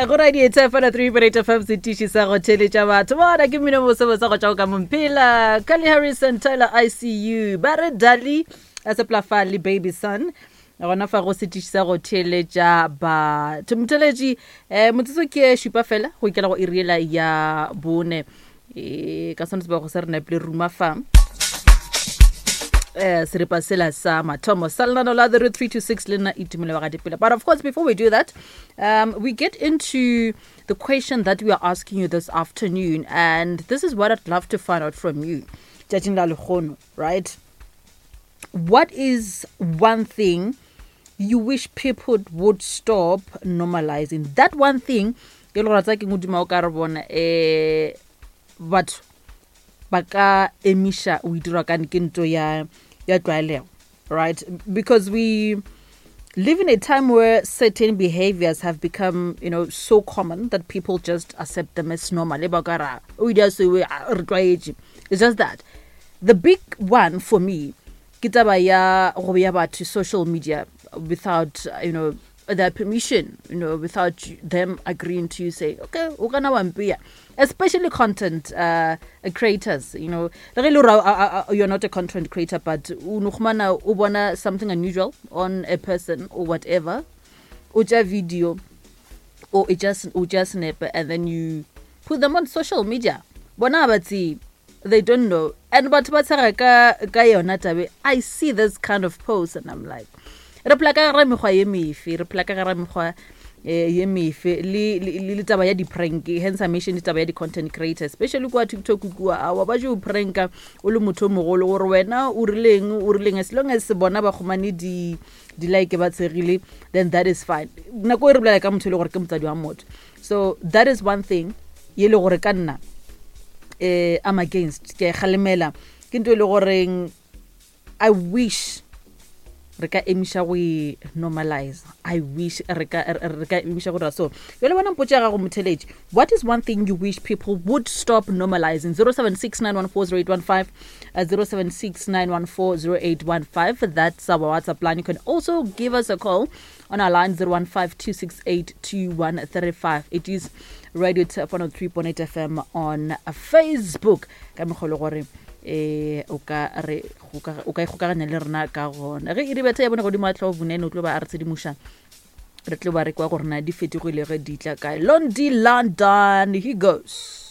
Go radio Thefela 3.8 FM setiši sa go theletša batho bona ke mmino bosebose go tšwa go ka momphela Carly Harrison Tyler ICU ba re Dali a seplafa le baby son gona fa go setiši sa go theletša batho motheletši um motsotso ke šupa fela go ikela go iriela ya bone e ka sone sebego se re nepile ruma fa eh seripa sela sa mathomo sa lenano la the 326 le nna itumelo wa gadipele. But of course, before we do that, we get into the question that we are asking you this afternoon, and this is what I'd love to find out from you tšatšing la lekgono, right? What is one thing you wish people would stop normalizing? That one thing e le gore tsa ke modimo o ka re bona um batho ba ka emiša o itirwa kane ke nto ya ya tlwaelego, right? Because we live in a time where certain behaviors have become so common that people just accept them as normal. E ba ka ra, o ile a se we, a, re tlwaetše. It's just that the big one for me ke taba ya go bea batho social media without their permission, without them agreeing to say, okay, o kana wa mpea. Especially content creators. Le ge e le gore you're not a content creator, but o no khumana o bona something unusual on a person or whatever, o tša video or it just o tša snap and then you put them on social media. Bona ba tsebe, they don't know, and batho ba tshega ka yona tabe. I see this kind of post and I'm like, re phela ka gara mekgwa ye mefe, re phela ka gara mekgwa ye mefe le taba ya di-prank. Hence I mentioned taba ya di-content creator, especially kua TikTok kua, awa ba jo pranka o le motho o mogolo gore wena o rileng, o rileng, as long as bona ba kgomane di-like ba tshegile, then that is fine. Nako e re bolela ka motho e le gore ke motsadi wa motho. So that is one thing ye le gore ka nna I'm against, ke a e kgalemela, ke ntho e le goreng I wish re ka emiša go e normalize. I wish re ka emiša go dira so. Jale bona mpotše ya gago motheletši, what is one thing you wish people would stop normalizing? 0769140815, 0769140815, that's our WhatsApp line. You can also give us a call on our line 0152682135. It is Radio Turf 103.8 FM on Facebook ka mokgwa le gore o ka re o ka ikgokaganya le rena ka gona. Ge e re betha ya bone godimo a tlho bonene o tlo ba a re tshedimoša, re tlo ba re kwa gore na di fetogile ge di tla kae. Londi London, he goes.